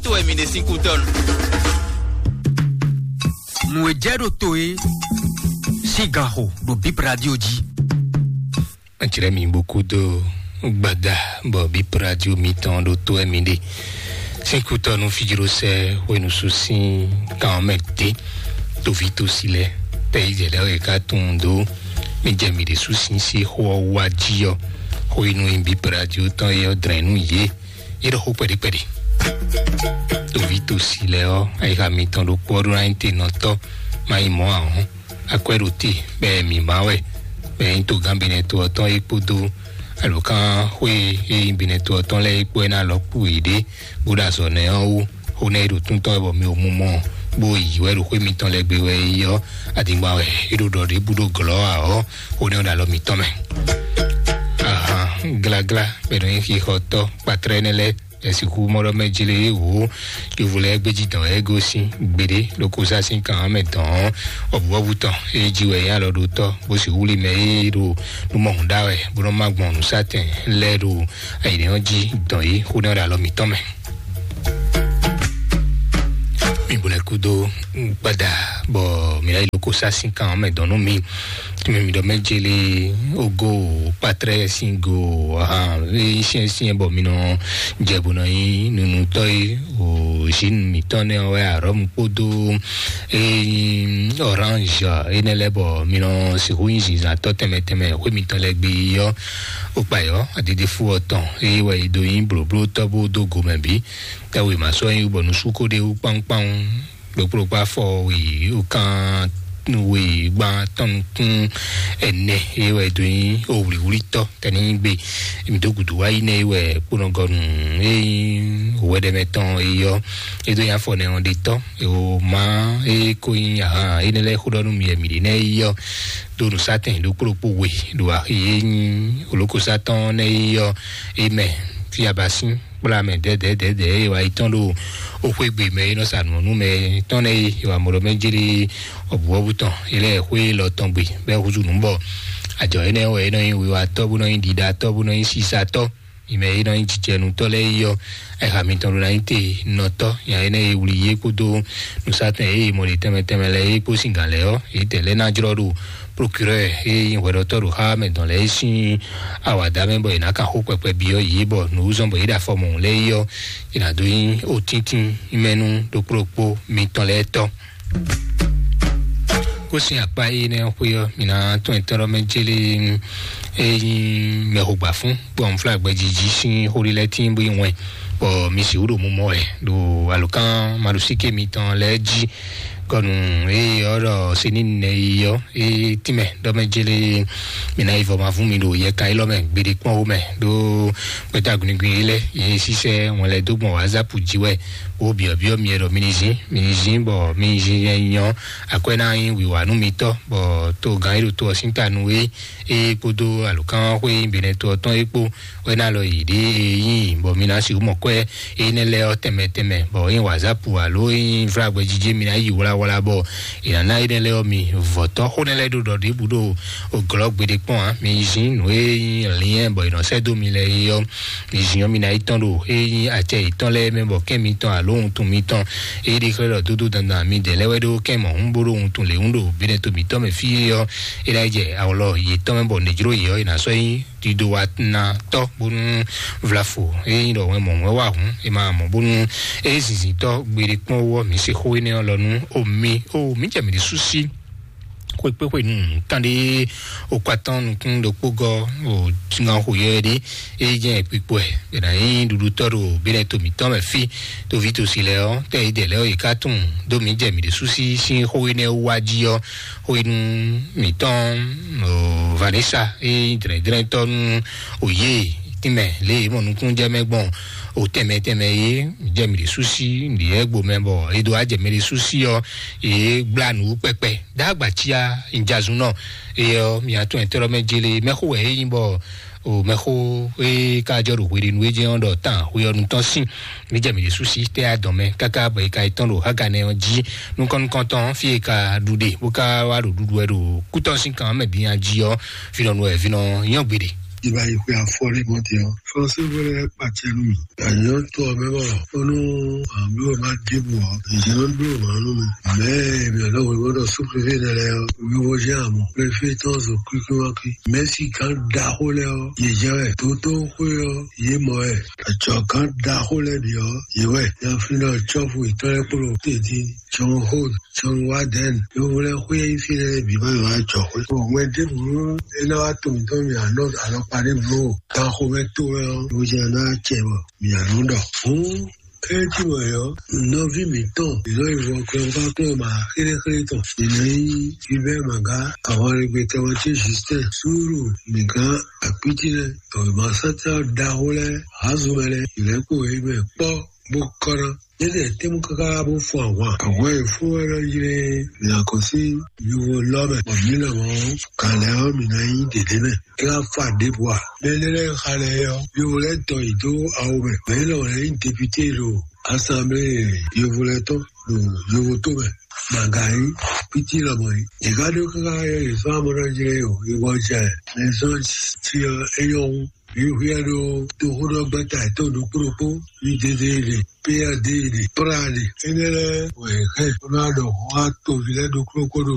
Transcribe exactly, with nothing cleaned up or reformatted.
To wɛ mi ɖe sín kútɔ́nu. Nǔ e jɛ ɖo to e sín gan xo ɖo Bip Radio jí. Jlɛ́ mi bo kúdó gbada bɔ Bip Radio mitɔn ɖo to wɛ mi ɖe. Sín kútɔ́nu fijlósɛ hwenu sú sín kan ɔ́ mɛ dé. Toví tosi lɛ tɛ yi jɛ lɛ wɛ ká tunwun dó. Mi jɛ mi ɖe sú sín sí xó ɔ́ wá jí ɔ́. Hwenu e Bip Radio tɔn e ɔ́ dlɛn nú yě. Yě ɖo xó kpɛɖé kpɛɖé. Toví tosi lɛ ɔ́, ayixa mitɔn ɖokpó ɔ́ ɖó ná nyí te nɔtɔ́, má nyí mɔ̌ ǎ hɔ́n. Akwɛ́ ɖo te, bɔ mǐ má wɛ, bɔ nyí togán Benɛto ɔ́ tɔn é kpódó alǒkanxwé e nyí Benɛto ɔ́ tɔn lɛ́ɛ é kpó é ná lɔ̌ kú yěɖée, bó ɖo azɔ̌ nɛ́ ɔ́ wú. Xó nɛ́ e ɖo túntɔ́n wɛ bɔ mi ò mu mɔ, bó yǐ wɛ ɖo xwé mitɔn lɛ́ɛ gbe wɛ é yí ɔ́, adingban wɛ é ɖo ɖɔ ɖěbǔ ɖo glɔ̌ ǎ ɔ́, xó nɛ́ ɔ́ ɖo alɔ mǐtɔn mɛ. Ahan, gláglá bɔ è nɔ nyí xixɔtɔ́ kpatlá énɛ́ lɛ́ɛ, è sixú mɔ ɖɔ mɛ jlé wǒ. Yovo lɛ́ɛ gbéjì dɔn wɛ é gosín gbeɖé ɖo kósá sín kan ɔ́ mɛ dɔn ɔ́, ɔbúɔbú tɔn é jí wɛ é alɔ ɖo tɔ́, bó sì wúli mɛ é ɖo nú mɔhun ɖá wɛ, bó nɔ́ má gbɔn nǔsátɛn lɛ́ɛ ɖo ayǐnɛ́ ɔ́ jí dɔn yí xó nɛ́ ɔ́ ɖo alɔ mǐtɔn mɛ. Mi bo lɛ́ kúdó gbada bɔ mǐ ná yi ɖo kósá sín kan ɔ́ mɛ dɔn nú mi. Tɛmɛ mi ɖɔ mɛ jeli ogo kpatrɛ sin go ahan, e siɛn siɛn bɔ mi nɔ jɛ bo nɔ nyi nunutɔ yi o zin mitɔn nɛ wɛ arɔm kpodo e orange ene lɛ bɔ mi nɔ sihu nyi zinzan tɔ tɛmɛ tɛmɛ hwe mitɔn lɛ gbe yɔ. O kpa yɔ adidi fu ɔtɔn eye wɛ do nyi bloblo tɔ bo do gomɛ bi. Tawe ma sɔ nyi bɔ nusu ko de wu kpankpan ɖokplɔkpɔ afɔ we okan we gban tɔn nukun ɛnɛ ye wɛ do nyi owliwlitɔ tɛni gbe mi do gudu wa yi nɛ ye wɛ kponɔgɔnu eyi wɛdɛmɛ tɔn eyɔ edo nya fɔ nɛ ɔn de tɔ ewo ma e ko nyi ahan ene lɛ xodɔ nu mi yɛ mi de nɛ eyɔ do nusatɛn ɖokplɔkpɔ we do axi ye nyi olokosatɔn nɛ eyɔ emɛ fiabasin kpla mɛ dɛdɛdɛdɛ eye wa yi tɔn ɖo oxwegbe mɛ e nɔ sa nǔ nú mɛ tɔn nɛ e wa mɔ ɖɔ mɛ jeli ɔbuɔbu tɔn e lɛ xwe lɔ tɔn gbe bɛ huzu nǔ bɔ ajɔ enɛ wɛ e nɔ nyi wiwatɔ bó nɔ nyi ɖiɖatɔ bó nɔ nyi sisatɔ mi mɛ e nɔ nyi jijɛnutɔ lɛ yi yɔ. Ɛha mitɔn ɖo na nyi te nɔtɔ nya enɛ e wuli ye kpodo nusatɛn e mɔ ɖe tɛmɛ tɛmɛ lɛ e kpo sin gan lɛ ɔ e tɛ lɛ na jlɔ ɖo procureur e nyi hwɛɖɔtɔ ɖo xá mɛ dɔn lɛ e sin awada mɛ bɔ e na kan xo kpɛkpɛ bi ɔ yi bɔ nǔ zɔn bɔ e ɖa fɔ mɔ lɛ yi ɔ e na do nyi o tíntín mɛnu ɖokpó ɖokpó mitɔn lɛ tɔ. Kó sin akpa e nɛ xwe ɔ mi na tɔn ɛtɔn ɖɔ mɛ jeli e nyi mɛxogbafún gbɔn flagbɛjiji sin xóɖi lɛ tín bó yi wɛn bɔ mi si wúɖo mumɔ wɛ ɖo alukán maɖusíké mitɔn lɛ jí. Kɔnu eye ɔ́ ɖɔ sini nɛ yi ɔ́ e tínmɛ ɖɔ mɛ jele mi ná yi vɔ ma vún mi ɖo yɛ kan élɔ́ mɛ gbeɖé kpɔ́n wo mɛ ɖó gbɛtá guniguni yi lɛ ye sísɛ wọn lɛ dó gbɔn wazap jí wɛ wo biɔbiɔ mi ɖɔ mi ni zin mi ni zin bɔ mi ni zin yɛ nyɔ akwɛ ná nyi wiwa nú mitɔ bɔ to gán yi ɖo to ɔ sín ta nu e e kpódó alukán xwé benɛ to ɔ tɔn e kpó wɛ ná lɔ yi ɖe e yí bɔ mi ná si mɔ kwɛ e nɛ lɛ ɔ tɛmɛ tɛmɛ bɔ e wazap alo e vlagbɛ jijɛ mi ná yi wlawla bɔ e nana e nɛ lɛ ɔ mi vɔtɔ xó nɛ lɛ ɖo ɖɔ ɖe bu ɖo oglɔ gbeɖe kpɔn a mi zin nǔ e nyi liɛn bɔ e nɔ sɛ do mi lɛ e ɔ mi zin ɔ mi ná yi tɔn ɖo e nyi acɛ yetɔn lɛ mɛ bɔ kɛ mitɔn alo wuntun mitɔn e ɖi xlɛ ɖɔ dodo dandan mi dɛ lɛ wɛ ɖo kɛ mɔ hun bo ɖo wuntun le hun ɖo benɛ to mitɔn mɛ fi e ɔ e ná jɛ awlɔ yetɔn mɛ bɔ nɛjlo yɛ ɔ e ná sɔ nyi dido wa na tɔ bonu vlafo e nyi ɖɔ wɛn mɔ wɛn wa hun e ma mɔ bonu e zinzin tɔ gbeɖe kpɔn wɔ mi se xo enɛ ɔ lɔ nu o mi o mi jɛ mi ɖi susi xwekpe xwe nu kan ɖe o kpatɔn nukun ɖokpó gɔ o tingan xo yɛ ɖe e jɛ kpikpɔ ɛ bena yi ɖuɖu tɔ ɖo benɛ to mitɔn mɛ fi to vi to si lɛ ɔ tɛ yi dɛ lɛ ɔ yi ka tun do mi jɛ mi ɖi susi sin xo enɛ wa ji ɔ xwenu mǐtɔn o Vanessa e nyí dlɛ̌ndlɛ́ntɔ́ nú o yě tínmɛ lě e mɔ nukúnnú jɛ mɛ gbɔn o tɛnmɛ tɛnmɛ e jɛ mǐ ɖě sú sí nǔɖiɖɛ gbo mɛ bɔ e dó wá jɛ mɛ ɖě sú sí ɔ́, yě gbla nǔ kpɛkpɛ dó agbacia njazunnɔ e ɔ́ mǐ atún ɛtɔ́ mɛ jele mɛxó wɛ é nyí bɔ o mɛxó e ka jɔ ɖo hweɖenu e jɛ ɔ́ ɖɔ tán hwe ɔ́ nu tɔn sín. Mí jɛ mǐ ɖésú sí tɛ́ adɔn mɛ káká bɔ è ka yi tɔ́n ɖo Haganɛ ɔ́ jí nukɔn nukɔntɔn fí è ka ɖu ɖe bó ka wá ɖo ɖuɖu wɛ ɖo kútɔ́ sín kan mɛ bǐ nya jí ɔ́, vǐnɔ nu wɛ vǐnɔ nyɔ́ gbeɖe. Ìbá yi xwe afɔ ní mɔtì ɔ. Fɔnsí wɛrɛ kpàtẹ nù mí. Àyàn tó ɔmẹ bɔ fɔnú àbí wọn bá dìbò ɔ. Ìjọba ń dúró màá nù mí. Mẹ mi ọ̀dọ́ wòlé wọ́n dọ̀ sún préfé nẹ lẹ ɔ. Wíwọ́ jẹ́ àmọ́ préfé tán zò kíkí wá kí. Mẹ́sì kan da xó lẹ ɔ. Yè jẹ́ wẹ̀ tó tó xó ɔ. Yè mọ̀ wẹ̀. Àjọ kan da xó lẹ bì ɔ. Yè wẹ̀. Yà fi náà tsɔ́fù ìtọ́lẹ́kpọ̀lọ́ tètè. John Holt, John Warden, yovó lɛ́ɛ xwé yí fí lɛ́ɛ bǐ ma yi wá jɔ xwé. Bɔ hwɛ ɖěbǔ é ná wá to mǐtɔn mì alɔ alɔkpa ɖěbǔ o. Gan xomɛ to wɛ ɔ́, bó jɛ ná cɛ bɔ mǐ alɔ ɖɔ. Hǔn kɛ́ tí wɛ ɔ́, nɔví mǐtɔn, mǐ nɔ yi vɔ kplɔ́ngbákplɔ́n ma xéléxélé tɔn. Mǐ nɔ nyí Gilbert Maga, ahwanlégbe tɔn ce Justin, Súúrù, mǐgán, Akpítí lɛ́ɛ, tɔwěmasátá ɖaxó lɛ́ɛ, Hazumɛ lɛ́ɛ, mǐ lɛ́ kpo yě mɛ kpɔ́ bó kɔ́ ná. Yétɛ́ tɛ́mú káká bó fun ahwan. Ahwan e fún wɛ nɔ ylé mǐ ná kɔn sín yovo lɔ mɛ. Bɔ mǐ lɔ mɔ kalɛ ɔ́ mǐ ná nyí ɖěɖé mɛ. É wá fa ɖěbǔ ǎ. Mɛ énɛ́ lɛ́ɛ xa lɛ́ɛ ɔ́, yovo lɛ́ɛ tɔ yě dó awo mɛ. Mɛ élɔ́ lɛ́ɛ nyí depité ɖo asanblée yovo lɛ́ɛ tɔn ɖo yovo tó mɛ. Màgǎyí pítí lɔmɔ yìí. Yě ká ɖó káká yɔ yě fán bó nɔ jlé o. Yě wɔ jɛ mɛ zɔn ti ɔ é nyɔ́ hú. Mǐ hwíɛ ɖó toxóɖɔgbɛ́ta yětɔn ɖokpó ɖokpó, Yudédéeɖe, Péyadéeɖe, Práaɖe. Énɛ́ lɛ́ɛ wɛ è hɛn bó ná ɖɔ xó xá toví lɛ́ɛ ɖokpó ɖokpó ɖo